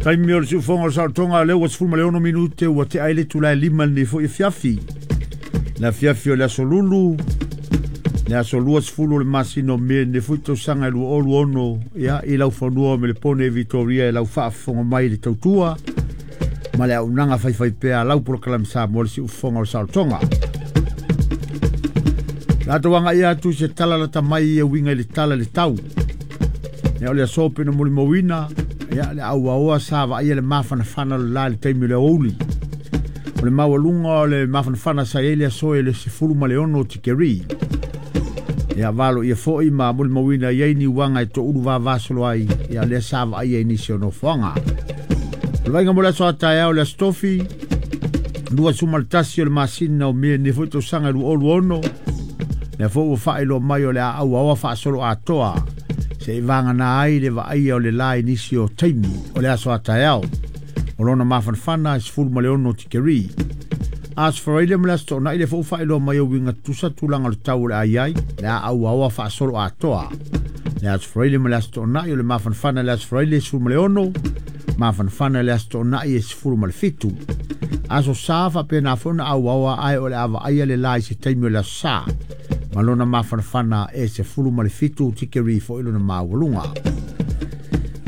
Taimi o le siufoga o le saolotoga lea ua 16 minute ua tea ai le itula e 5 i lenei foi afiafi. Le afiafi o le aso Lulu, le aso 20 o le masina o Me lenei foi tausaga e 2026, ia, i laufanua o Melepone e Vitoria e lau faafofoga mai i le tautua ma le auaunaga faifaipea a lau polokalame Samoa le siufofoga o le saolotoga. Latou agai atu i se tala lata mai e uiga i le tala i le tau. Ia, o le aso pe na molimauina, ia, le auaoa sa vaaia le mafanafana o le la i le taimi o le aoauli. O le maualuga o le mafanafana sa i ai le aso e le 16 tikeri. Ia, valo ia foi ma molimauina i ai ni uaga e toulu vavasolo ai, ia, lea sa vaaia i nisi o nofoaga. O le vaaiga mo le aso a taeao le aso Tofi, 21 o le masina o Me lenei foi tausaga e 2026, lea foi ua faailoa mai o le a auaoa faasolo atoa se i vagana ai le vaaia o le la i nisi o taimi o le aso a taeao. O lona mafanafana e 16 tikeri. Aso Faraile ma le aso Toonai le foi ua faailoa mai o uiga tutusa tulaga o le tau o le a i ai, le a auaoa faasolo atoa. Le aso Faraile ma le aso Toonai o le mafanafana le aso Faraile e 16, mafanafana le aso Toonai e 17. Aso Sa faapena foi ona auaoa ae o le a vaaia le la i se taimi o le aso Sa. Ma lona mafanafana e 17 tikeri foi lona maualuga.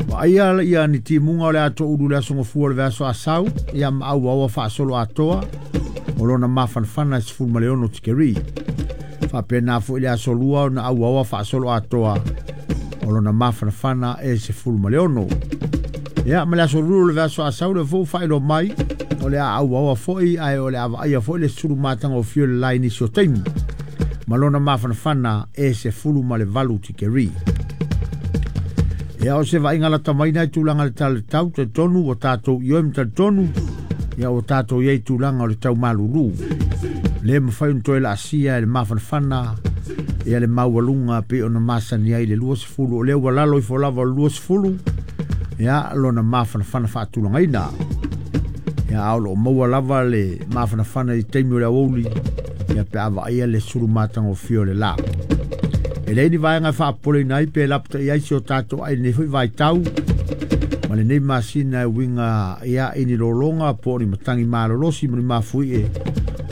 Vaaia ia ni timuga o le ato ulu le aso gafua o le vaiaso Asau, ia ma auaoa faasolo atoa, o lona mafanafana e 16 tikeri. Faapena foi le aso Lua ona auaoa faasolo atoa, o lona mafanafana e 16. Ia, ma le aso Lulu o le vaiaso Asau le foi faailoa mai, o le a auaoa foi ae o le a vaaia foi le sulu matagofie o le la i nisi o taimi. Ma lona mafanafana e 18 tikeri. Ia, o se vaaiga lata mai nai tulaga le tala le tau, talitonu ua tatou ioe ma talitonu, ia ua tatou i ai tulaga o le tau malulu. Le mafai ona toe laasia e le mafanafana ia le maualuga pei ona masani ai le 20, o lea ua lalo ifo lava o le 20, ia lona mafanafana faatulagaina. Ia, a o loo maua lava le mafanafana i taimi o le aoauli, ia pe a vaaia le sulu matagofie o le la. E leai ni vaega e faapopoleina ai pe lapatai ai si o tatou ai lenei foi vaitau ma lenei masina e uiga ia i ni lologa po o ni matagi malolosi ma ni mafuie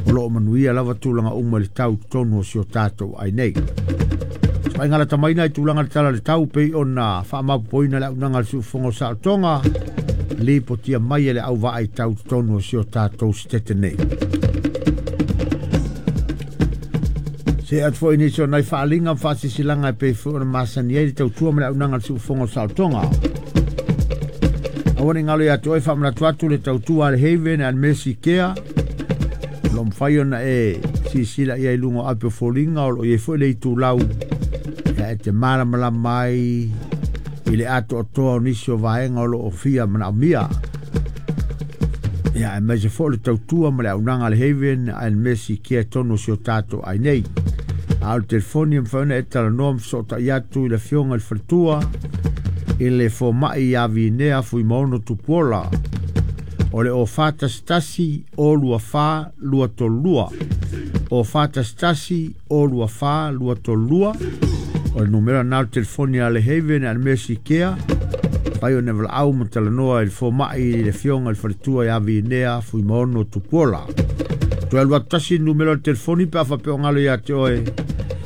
o loo manuia lava tulaga uma i le tau totonu o si o tatou ai nei. Vaaiga lata mai i tulaga le tala le tau pei ona faamaopoopoina le auaunaga a le siufofoga o saolotoga lipotia mai e le auvaa i tau totonu o si o tatou sitete nei. Se atu foi nisi o nai faaaliga ma faasisilaga e pei foi ona masani ai le tautua ma le auaunaga a le siufofoga o saolotoga. Aua ne i galo ia te oe faamanatu atu le tautua a le Haven and Mercy Care. O lo o mafai ona e silasila i ai i luga o ape o foliga o lo o i ai foi le itulau e te malamalama ai i le atoatoa o nisi o vaega o lo o fia manaomia. Ia, aemaise foi le tautua ma le auaunaga a le Haven and Mercy Care tonu o si o tatou ai nei. A o le telefoni e mafai ona e talanoa ma fesootai atu i le afioga i le faletua i le fomai ia Vinea Fuimaono Tupuola. O le o 411 o 24 232. O 411 o 24 232. O le numera na o le telefoni a le Haven and Mercy Care. Fai o ne valaau ma talanoa i le fomai i le afioga i le faletua ia Vinea Fuimaono Tupuola. Toe alu atu tasi le numera o le telefoni pe a faapea o galo ia te oe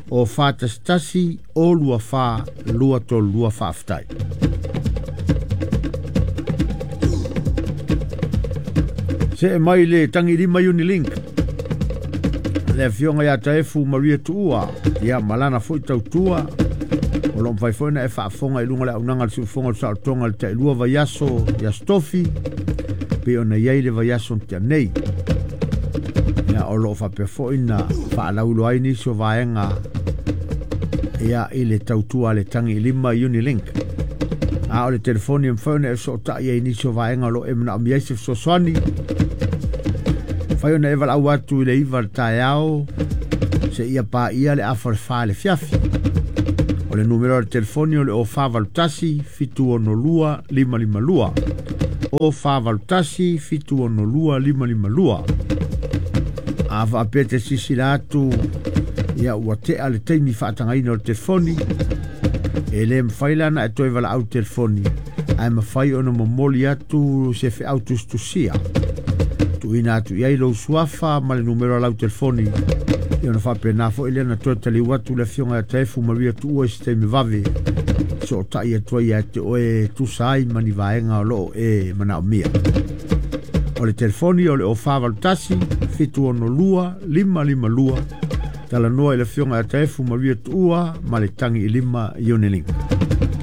o 411 o 24 232. Faafetai. See mai le tagilima Unilink. Le afioga ia Taefu Maria Tuua, ia malana foi tautua. O lo o mafai foi ona e faafofoga i luga o le auaunaga a le siufofoga o le saolotoga i le tailua vaiaso i Aso Tofi, pei ona i ai le vaiaso na tea nei. Ia, o lo o faapea foi na faalauiloa ai nisi o vaega ia i le tautua a le tagilima Unilink. A o le telefoni e mafai ona e fesootai ai i nisi o vaega o lo o e manaomia ai se fesoasoani. Mafai ona e valaau atu i le 9 le taeao seia paia le afa o le 4 i le afiafi. O le numera o le telefoni o le 0481 762 552. 0481 762 552. A faapea te silasila atu ia ua tea le taimi faatagaina o le telefoni, e le mafai la ona e toe valaau telefoni, Ae mafai ona momoli atu se feau tusitusia tuuina atu i ai lou suafa ma le numera o lau telefoni, ia ona faapena foi lea na toe taliu atu le afioga ia Taefu Maria Tuua i se taimi vave sootai atu ai ia te oe tusa ai ma ni vaega o loo e manaomia. O le telefoni o le 0481 762 552. Talanoa i le afioga ia Taefu Maria Tuua ma le tagi i lima Unilink.